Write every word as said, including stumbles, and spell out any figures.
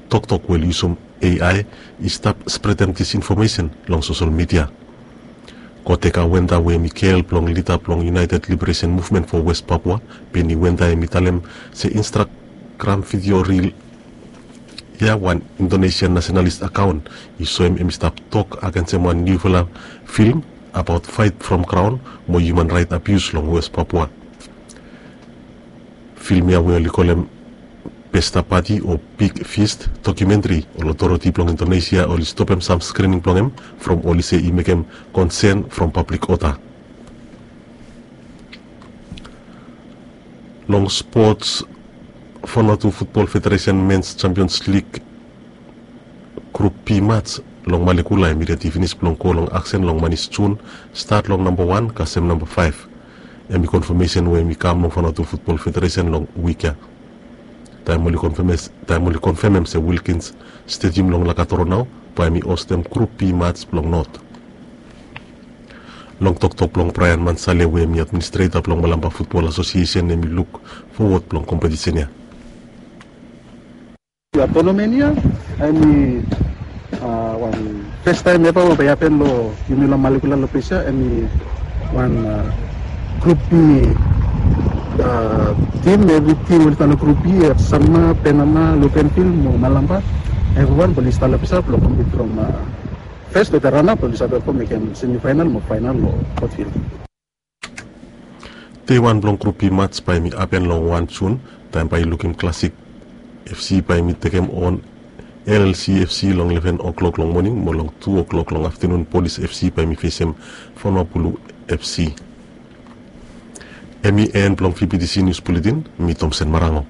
Toktok we oli yusum A I i stap spredem disinfomesen long sosel midia. Koteka Wenta we hem i gel blong lida blong United Liberation Movement fo West Papua, Benny Wenta, hem i talem se Instagram vidio ril ya, wan Indonesian nasenalis akaon, i soem hem i stap tok agensem wan niufala fim abaot faet from graon mo hiuman raet abius long West Papua. Fim ya we oli kolem Pesta Pati o Big Feast dokumentri, ol otoriti blong Indonesia oli stopem sam skrining blong hem from oli se i mekem konsen from pablik oda. Long spots, Vanuatu Futbol Federesen Mens Champions Lig Grup B mats long Malekula hem i redi finis blong go long aksen long manis Jun, stat long namba wan kasem namba faef. Hem i konfamesen we hem i kam long Vanuatu Futbol Federesen long wik ya. Taem oli konfemes- taem oli konfemem se Wilkins Stedium long Lakatoro nao bae hem i hostem Grup B mats blong Not. Long toktok blong Brian Mansale we hem i administreta blong Malampa Futbol Asosiesen, hem i luk fowod blong kompetisen ya. Ia, tonamen ia hemi a, wan fes taem eva we bae i hapen long yumi long Malekula long ples ia, hemi wan a, Grup B a, tim, evri tim oli stap long Grup B, Sanma, Penama, Lukenvil mo Malampa. Evriwan bae oli stap long ples ia blong kompit from a, fes wetem ranap oli save go mekem semifaenal mo faenal long Portville. Dei wan blong Grup B mats bae hemi hapen long wan Jun, taem bae i lukim Classic FC bae hemi tekem on L L C FC long leven o'clock long moning mo long tu o'clock long aftenun Polis FC bae hemi fesem Vanuabulu FC. Hemi en blong V B T C Nius Buletin, mi Tomsen Marango.